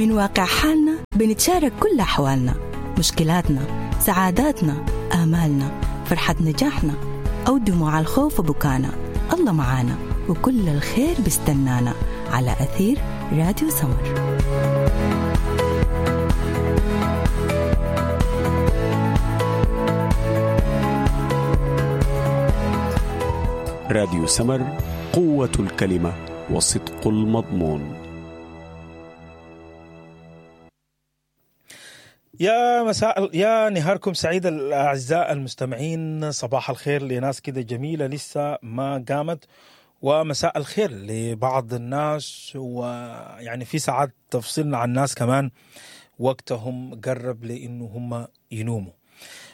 من واقع حالنا بنتشارك كل أحوالنا، مشكلاتنا، سعاداتنا، آمالنا، فرحة نجاحنا أو دموع الخوف وبكانا. الله معانا وكل الخير بيستنانا على أثير راديو سمر. راديو سمر، قوة الكلمة وصدق المضمون. يا مساء، يا نهاركم سعيد الأعزاء المستمعين. صباح الخير لناس كده جميلة لسه ما قامت، ومساء الخير لبعض الناس، ويعني في ساعات تفصلنا عن الناس كمان وقتهم قرب لأنه هم ينوموا.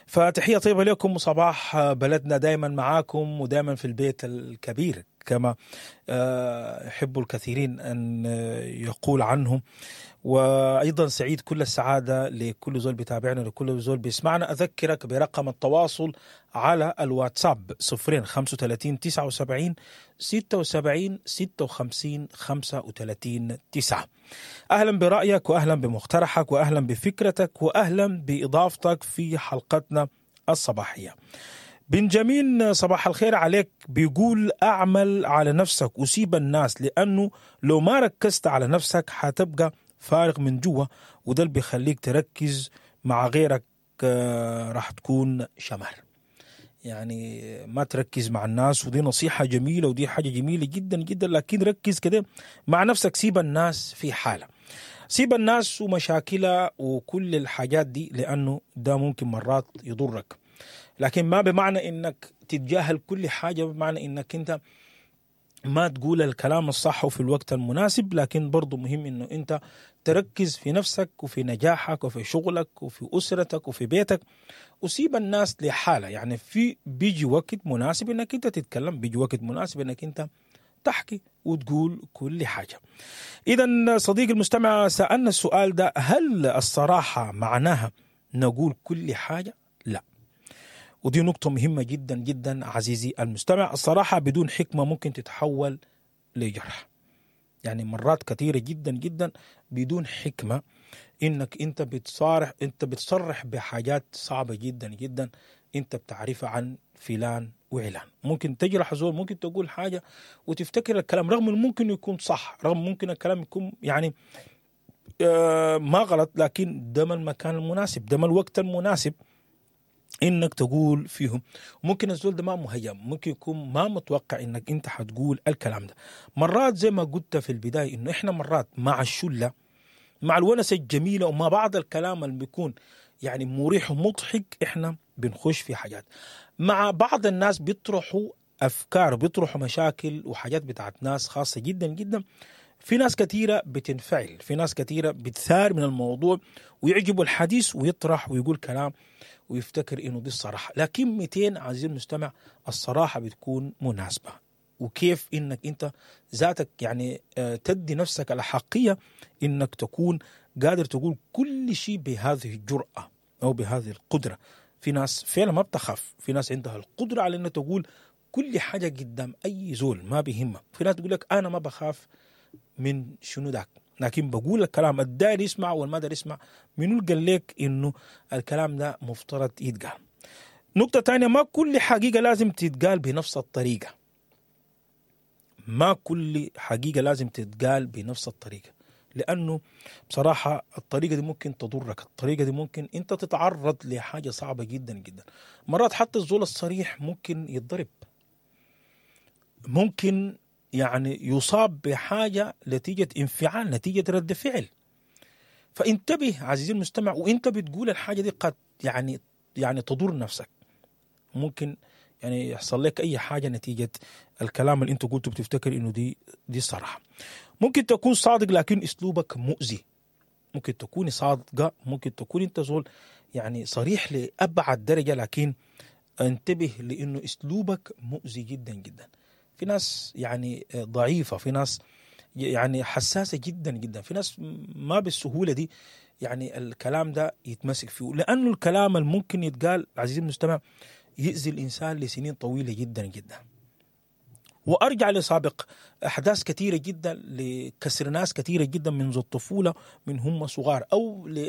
فتحية طيبة لكم، وصباح بلدنا دايما معاكم ودايما في البيت الكبير كما يحب الكثيرين أن يقول عنهم. وأيضا سعيد كل السعادة لكل زول بيتابعنا، لكل زول بيسمعنا. أذكرك برقم التواصل على الواتساب 0 35 79 76 56 35 9. أهلا برأيك، وأهلا بمقترحك، وأهلا بفكرتك، وأهلا بإضافتك في حلقتنا الصباحية. بنجامين صباح الخير عليك، بيقول أعمل على نفسك وسيب الناس، لأنه لو ما ركزت على نفسك حتبقى فارغ من جوا، وده اللي بيخليك تركز مع غيرك راح تكون شمر. يعني ما تركز مع الناس، ودي نصيحة جميلة ودي حاجة جميلة جدا جدا، لكن ركز كده مع نفسك، سيب الناس في حالة، سيب الناس ومشاكلها وكل الحاجات دي، لأنه ده ممكن مرات يضرك. لكن ما بمعنى إنك تتجاهل كل حاجة، بمعنى إنك أنت ما تقول الكلام الصح وفي الوقت المناسب، لكن برضو مهم إنه أنت تركز في نفسك وفي نجاحك وفي شغلك وفي أسرتك وفي بيتك، وسيب الناس لحالة. يعني في بيجي وقت مناسب إنك أنت تتكلم، بيجي وقت مناسب إنك أنت تحكي وتقول كل حاجة. إذا صديقي المستمع سألنا السؤال ده، هل الصراحة معناها نقول كل حاجة؟ لا، ودي نقطة مهمة جدا جدا عزيزي المستمع. الصراحة بدون حكمة ممكن تتحول لجرح. يعني مرات كثيرة جدا جدا بدون حكمة إنك أنت بتصارح، أنت بتصرح بحاجات صعبة جدا جدا أنت بتعرفها عن فلان وعلان. ممكن تجرح زول، ممكن تقول حاجة وتفتكر الكلام رغم إنه ممكن يكون صح، رغم ممكن الكلام يكون يعني ما غلط، لكن ده ما المكان المناسب، ده ما الوقت المناسب انك تقول فيهم. ممكن الزول ده ما مهيأ، ممكن يكون ما متوقع انك انت حتقول الكلام ده. مرات زي ما قلت في البداية انه احنا مرات مع الشلة، مع الونسة الجميلة، ومع بعض الكلام اللي بيكون يعني مريح ومضحك، احنا بنخش في حاجات. مع بعض الناس بيطرحوا افكار، بيطرحوا مشاكل وحاجات بتاعت ناس خاصة جدا جدا. في ناس كثيرة بتنفعل، في ناس كثيرة بتثار من الموضوع ويعجبه الحديث ويطرح ويقول كلام ويفتكر إنه دي الصراحة. لكن 200 عزيزي المستمع الصراحة بتكون مناسبة، وكيف إنك أنت ذاتك يعني تدي نفسك الحقية إنك تكون قادر تقول كل شيء بهذه الجرأة أو بهذه القدرة. في ناس فعلا ما بتخاف، في ناس عندها القدرة على إنها تقول كل حاجة قدام أي زول ما بيهمه. في ناس تقول لك أنا ما بخاف من شنو داك، لكن بقول الكلام الداير يسمع والما داير يسمع. منو قال لك انه الكلام ده مفترض يتقال؟ نقطة تانية، ما كل حقيقة لازم تتقال بنفس الطريقة. ما كل حقيقة لازم تتقال بنفس الطريقة، لأنه بصراحة الطريقة دي ممكن تضرك، الطريقة دي ممكن أنت تتعرض لحاجة صعبة جدا جدا. مرات حتى الزول الصريح ممكن يتضرب، ممكن يعني يصاب بحاجة نتيجة انفعال، نتيجة رد فعل. فانتبه عزيزي المستمع وانت بتقول الحاجة دي، قد يعني تضر نفسك، ممكن يعني يحصل لك أي حاجة نتيجة الكلام اللي انت قلته بتفتكر انه دي صراحة. ممكن تكون صادق لكن اسلوبك مؤذي، ممكن تكون صادقة، ممكن تكون انت زول يعني صريح لأبعد درجة، لكن انتبه لانه اسلوبك مؤذي جدا جدا. في ناس يعني ضعيفة، في ناس يعني حساسة جدا جدا، في ناس ما بالسهولة دي يعني الكلام ده يتمسك فيه، لأنه الكلام الممكن يتقال عزيزي المستمع يؤذي الإنسان لسنين طويلة جدا جدا. وارجع لسابق احداث كثيرة جدا لكسر ناس كثيرة جدا منذ الطفولة، من هم صغار او